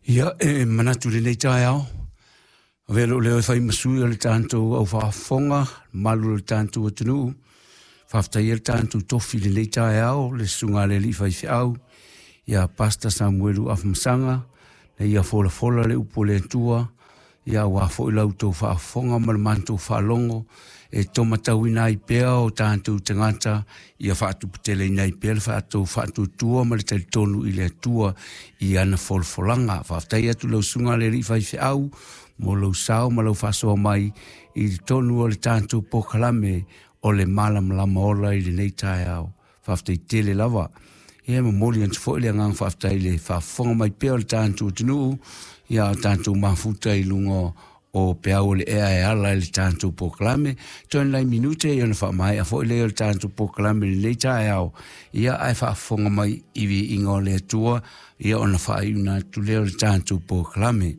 Ia, e manatu i lenei taeao, avea lou leo e fai ma sui o le tatou au faafofoga, malu o le tatou atunuu, faafetaia le tatou tofi i lenei taeao, le susuga a le alii faifeau, ia Pastor Samuelu Afamasaga, na ia folafola le upu a le Atua, ia aua foi la outou faafofoga ma le matou faalogo, e taumatauina ai pea o tatou tagata, ia faatuputeleina ai pea le faatuatua ma le talitonu i le Atua i ana folafolaga. Faafetai atu lau susuga a le alii faifeau mo lou sao ma lau faasoa mai i totonu o le tatou polokalame o le Malamalama Ola i lenei taeao. Faafetai tele lava. Ia, e momoli atu foi le agaga faafetai i le faafofoga mai pea o le tatou atunuu, ia o tatou mafuta i luga o peau o le ea e ala i le tatou polokalame. Toe nai minute ia ona faamaea foi lea o le tatou polokalame i lenei taeao, ia ae faafofoga mai i viiga o le Atua, ia ona faaiuna atu lea o le tatou polokalame.